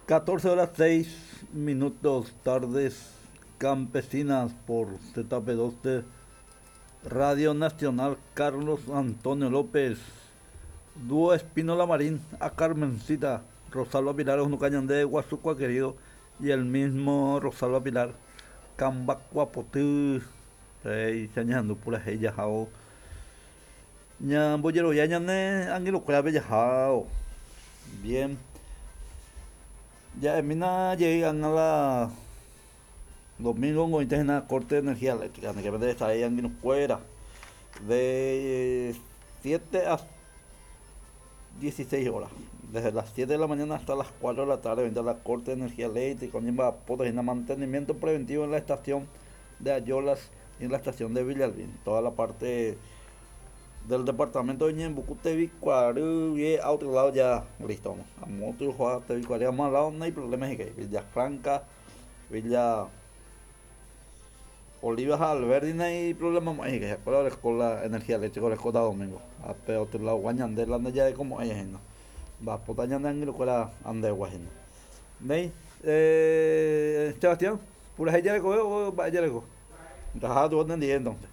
14 horas 6 minutos, tardes campesinas por ZP12, Radio Nacional Carlos Antonio López, Dúo Espínola Marín, a Carmencita, Rosalba Pilar, Onucañandé, Guasucua querido, y el mismo Rosalba Pilar, Cambacuapotý, péicha ñahendu purahéi jahávo ñambojerovia ñane angelokuérape jahávo. Bien. Ja'emína jey ág̃a la domingo oĩta hína corte de energía eléctrica, ndéve ndaha'éi angirũkuéra de siete a 16 horas, desde las 7 de la mañana hasta las 4 de la tarde oĩta la corte de energía eléctrica oñemba'apóta hína mantenimiento preventivo en la estación de Ayolas y en la estación de Villalbín, toda la parte del departamento de Ñeembucú, Tevikuary guie a otro lado ya listo, amo otro Tevikuary amo al lado no hay problema hikuái, Villa Franca, Villa Oliva ha Alberdi nai problema mo'ãi hikuái, ha'ekuéra oreko la energía eléctrica orekóta domingo, ha pe otro lado gua ñande la ndajareko mo'ãi hína, mba'apóta ñane angirũkuéra andegua hína. Néi, Sebastián, purahéi jarekove o mba'e jareko? Ndaha tuvo nendive entonces.